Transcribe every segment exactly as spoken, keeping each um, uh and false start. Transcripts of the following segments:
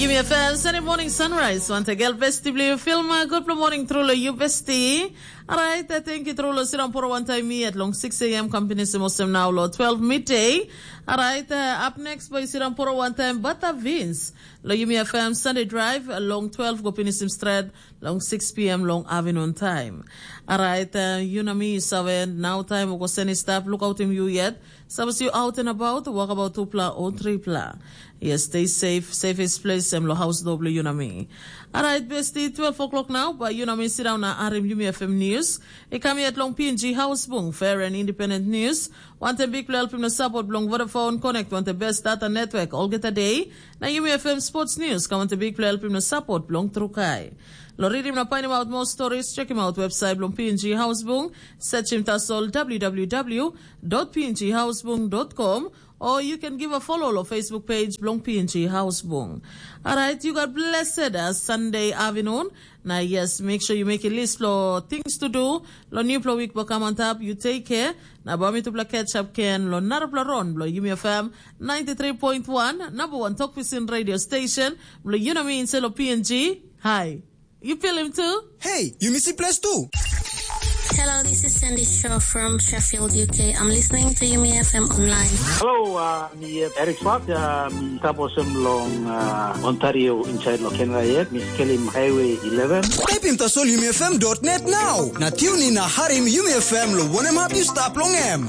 Mi F M Sunday morning sunrise. Wante gel besti bli film. Good morning through lo you besti. Alright, uh, thank you through lo sidang poro one time mi at long six a m company sim osem now lo twelve midday. Alright, uh, up next boy sidang poro one time Bata Vince. Lo Yumi F M Sunday Drive uh, long twelve go finish him straight long six p m long afternoon time. Alright, uh, you know me, Saven. Now time go send stop. Look out him you yet. Suppose you out and about, walk about two pla or three pla. Yes, stay safe. Safest place em lo house doble you know me. Alright, bestie, twelve o'clock now, but you know me sit down na arim Yumi F M News. It come yet long P N G House Bung, fair and independent news. Want a big play help him na support belong Vodafone Connect, want the best data network all get a day. Na Yumi F M Sports News, come want a big play help him na support belong Trukai. Lo read him na find him out more stories, check him out website belong P N G House Bung, search him tasol w w w dot p n g house bung dot com, or you can give a follow lo Facebook page belong P N G House Bung. Alright, you got blessed uh, Sunday afternoon. Na yes, make sure you make a list lo things to do. Lo new pla week will come on top, you take care. Na bami tupla catch up ken lo narapla ron blo Yumi F M ninety-three point one, number one talk vision radio station. Blo you know me inse lo P N G. Hi. You feel him too? Hey, you miss place too? Hello, this is Sandy Shaw from Sheffield, U K. I'm listening to Yumi F M online. Hello, uh, mi uh, Eric Swart, uh, mi taposem long uh, Ontario inside lo Canada yet. Mi skelim Highway eleven. Taipim tasol yumi F M dot net now. Na tune in na harim Yumi F M lo wanem hap you stap long em.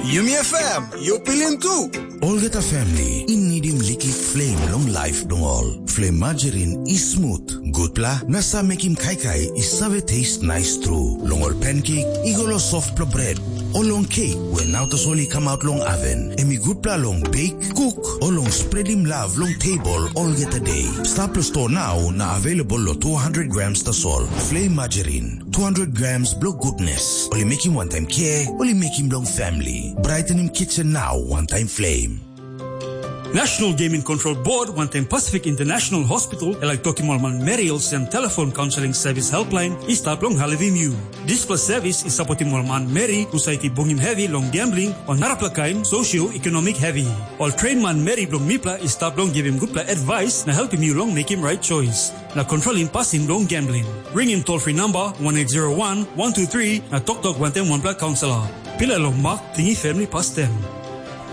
Yumi F M, you pilim tu. Olgeta family i nidim liklik flame long life dong ol. Flame margarine i smooth, gutpla na sa mekim kaikai i save taste nice tru. Long ol pancake i go lo softpla bread, o long cake we nau tasol i come out long oven. Em i gutpla long bake, cook, o long spreadim love long table olgeta day. Stap lo store now na available lo two hundred grams tasol. Flame margarine, two hundred grams blo goodness. Oli making one time care, oli making long family. Brightening kitchen now, one time flame. National Gaming Control Board, wantaim Pacific International Hospital, e laik tokim ol manmeri olsem telefon kaunseling sevis helpline i stap long helpim yu. Dispela sevis i sapotim ol manmeri husat i bungim hevi long gambling o narapela kain sosioekonomik hevi. Ol tren manmeri bilong mipela i stap long givim gutpela advice na helpim yu long mekim right choice na kontrolim pasin bilong gambling. Ringim toll free number one eight zero one one two three na toktok wantaim wanpela kaunselor. Pila long mak, tingi family pastem.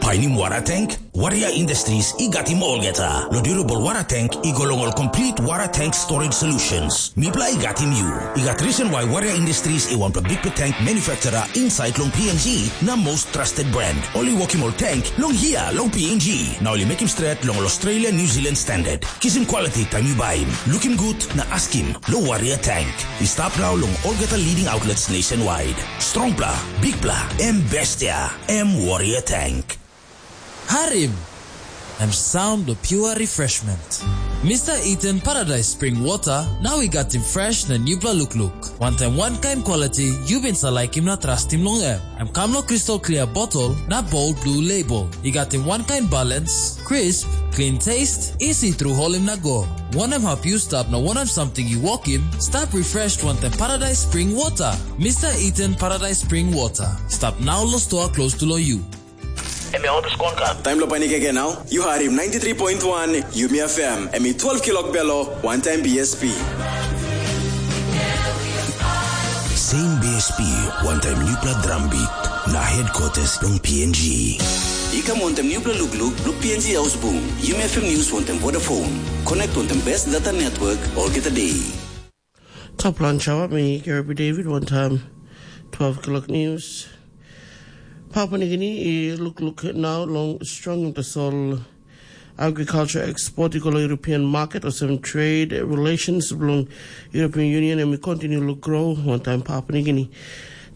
Painim wara tank? Warrior Industries i gatim olgeta. Lo durable wara tank i go long ol complete wara tank storage solutions. Mipela i gatim yu. I gat reason why Warrior Industries i wanpela bikpela tank manufacturer inside long P N G na most trusted brand. Oli wokim ol tank long hia long P N G. Na oli mekim stret long ol Australia New Zealand standard. Kisim quality taim yu baim. Lukim gut na askim lo Warrior Tank. I stap nau long olgeta leading outlets nationwide. Strongpla, bikpla, em bestia, em Warrior Tank. Harim! Em sound of pure refreshment. Mister Eden Paradise Spring Water, now we got him fresh na newpla look look. One time, one kind quality, you been sa like him na trust him long em. Em kam lo crystal clear bottle na bold blue label. I gat him one kind balance, crisp, clean taste, easy through holim na go. Wanem hap yu stap na wanem something yu wokim, stap refreshed wantaim Paradise Spring Water. Mister Eden Paradise Spring Water. Stap now lo store close to lo you. Em ya oto skon kan. Taim lo panik again now. You heard him ninety-three point one Yumi F M. Em i twelve kilok belo, one time B S P. Same B S P, one time newpela drum beat, na headquarters long P N G. I kam wantaim newpela lukluk, long P N G House Boom, Yumi F M News wantaim Vodafone. Connect wantaim best data network, olgeta day. Top lunch hour, me, Gary David, one time, twelve o'clock news. Papua New Guinea, eh, look, look now, long strong tasol agriculture export i go long European market, olsem trade relations bilong European Union em i continue lo grow wantaim Papua New Guinea.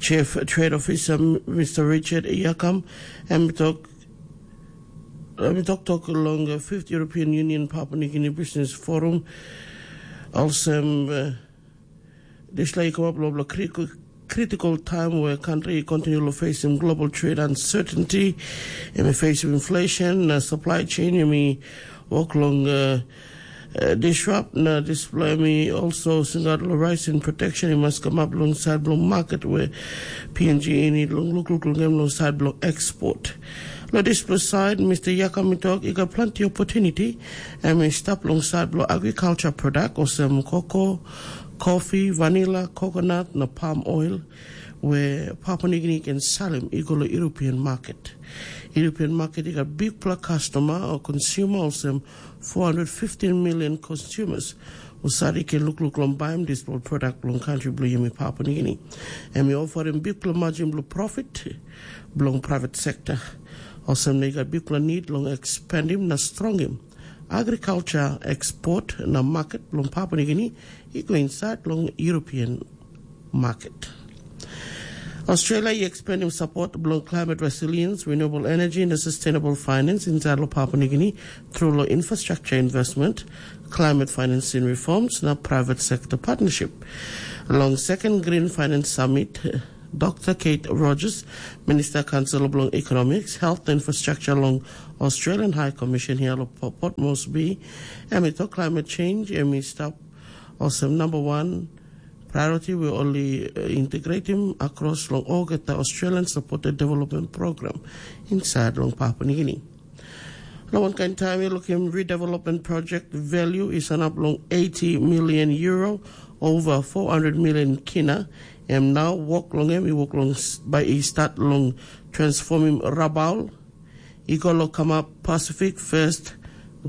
Chief Trade Officer Mister Richard Yakam em i tok em i toktok long fifth European Union Papua New Guinea Business Forum. Olsem, uh, dispela i kamap long critical time where country continue to facing global trade uncertainty, and facing inflation, uh, supply chain, I mean, work long, uh, uh, disrupt na display me also singat lo rising protection i mas come up long side long market where P N G ini long look look long them long side long export. Lo dispela side, Mister Yakam i tok i gat planti opportunity, em i stap long side bilong agriculture product olsem cocoa, coffee, vanilla, coconut na palm oil, where Papua New Guinea can sell them i go lo European market. European market i gat bigpela customer or consumer olsem four hundred fifteen million consumers. Usadi ke lukluk long baim dispela product bilong country bilong yumi Papua New Guinea. Em i ofarim bigpela margin bilong profit bilong private sector. Olsem na i gat bikpela nid long ekspandim na strongim agriculture export na market bilong Papua New Guinea i go inside long European market. Australia i ekspandim support bilong climate resilience, renewable energy na sustainable finance inside long Papua New Guinea through long infrastructure investment, climate financing reforms na private sector partnership. Long second Green Finance Summit, Dr Kate Rogers, Minister Council bilong Economics, Health na Infrastructure long Australian High Commission here lo Port Moresby, em i tok climate change em i stap olsem number one priority we only uh, integrate him across long olgeta Australian supported development program inside long Papua New Guinea. Long one kind time you look him redevelopment project value is an up long eighty million euro over four hundred million kina. Em now work long him, he work long by he start long transforming Rabaul. He go lo come up Pacific First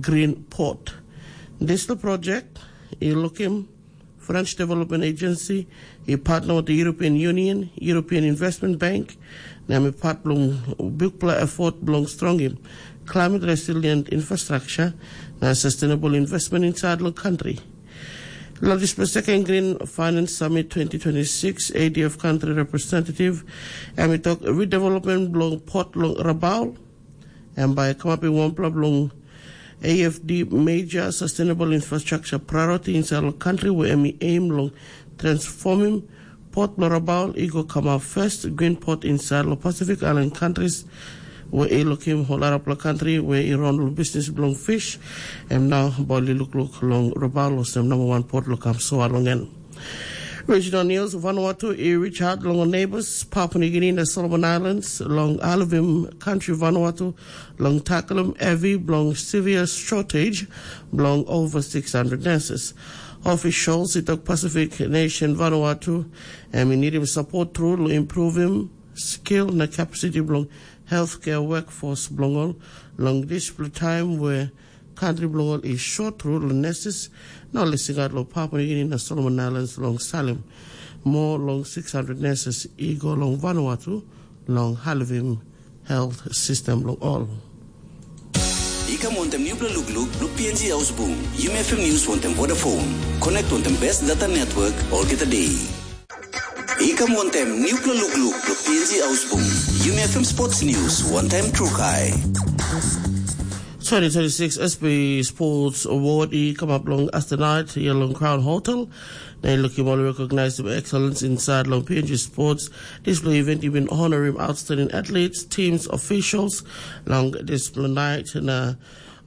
Green Port. This the project, he look him French Development Agency, he partner with the European Union, European Investment Bank, na em i part bilong bikpela effort bilong strongim climate resilient infrastructure na sustainable investment inside the country. Long dispela second Green Finance Summit twenty twenty-six, A D F country representative, em i tok redevelopment bilong port long Rabaul, em bai kamapim wanpela bilong A F D major sustainable infrastructure priority inside long country where em i aim long transforming port bilong Rabaul i go kamap first green port inside long Pacific Island countries where i lokim whole arapela country where i run long business bilong fish, em now bali look look long Rabaul olsem number one port lo kam so along en. Regional News, Vanuatu i reach out long neighbors, Papua New Guinea na Solomon Islands, long Alvim country Vanuatu, long tackle heavy bilong severe shortage bilong over six hundred nurses. Officials i tok Pacific nation Vanuatu, em i nidim support tru long improvim skill na capacity bilong healthcare workforce bilong ol long dispela time where country bilong ol i short tru long nurses, na ol i singaut long Papua New Guinea na Solomon Islands long salim mo long six hundred nurses i go long Vanuatu long halivim health system long ol. I kam wantem nupela lukluk long P N G Ausbung, Yumi F M News wantem Vodafone. Connect wantem best data network olgeta day. I kam wantem nupela lukluk long P N G Ausbung, Yumi F M Sports News wantem Trukai. Twenty twenty-six S P Sports Award i come up long Astanite here long Crown Hotel. Na i lukim ol recognize excellence inside long P N G Sports. Display event even honoring outstanding athletes, teams, officials long display night. Na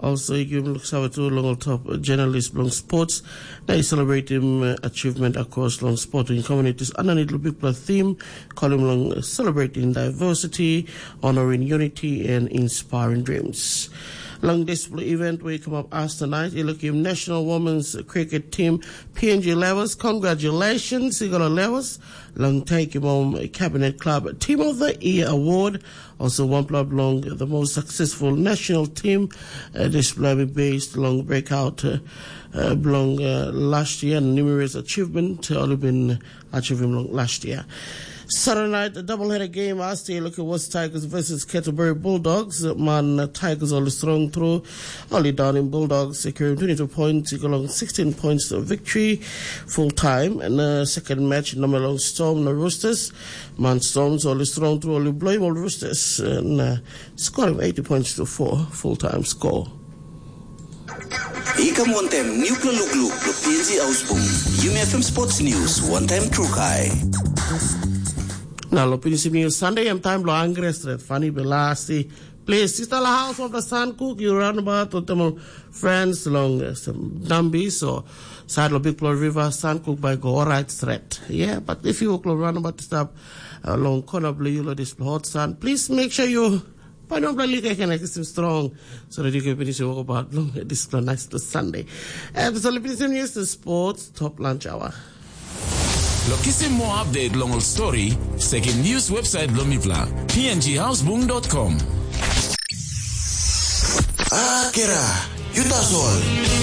also i give look sawa to long top journalist long sports. Na i celebrate him uh, achievement across long sporting communities. Underneath the big theme, call him long celebrating diversity, honoring unity and inspiring dreams. Long this event we come up as tonight, you look him National Women's Cricket Team P N G levels. Congratulations, you got a levels. Long take him home Cabinet Club Team of the Year Award. Also one club long the most successful national team uh, display based long breakout uh, uh, belong uh, last year and numerous achievement uh, only been achieving long last year. Saturday night, a doubleheader game last year. Look at what's Tigers versus Canterbury Bulldogs. Man, uh, Tigers only strong through, only down in Bulldogs, securing twenty-two points, equal on sixteen points of victory full time. And uh, second match, number long Storm, the Roosters. Man, Storms only strong through, only blame all Roosters. And uh, scoring eighty points to four, full time score. I kam wantem nupla lukluk lo P N G Ausbung. Yumi F M Sports News, one time trukai. Na lo pinisim news Sunday em time lo angre stret fani belasi. Please, sista la house of the sun cook you run about to temo friends long uh, some Nambi so side lo big flow river sun cook by go alright stret. Yeah, but if you lo run about to stop uh, long corner blue you lo this hot sun, please make sure you Bai nupela liklik na kisim strong. So that you can finish your work about long this nice to Sunday. And so let me some news to sports, top lunch hour. Lo kisim more update long ol story, sekim news website bilong mipela, p n g houseboom dot com. Akira, you that's all.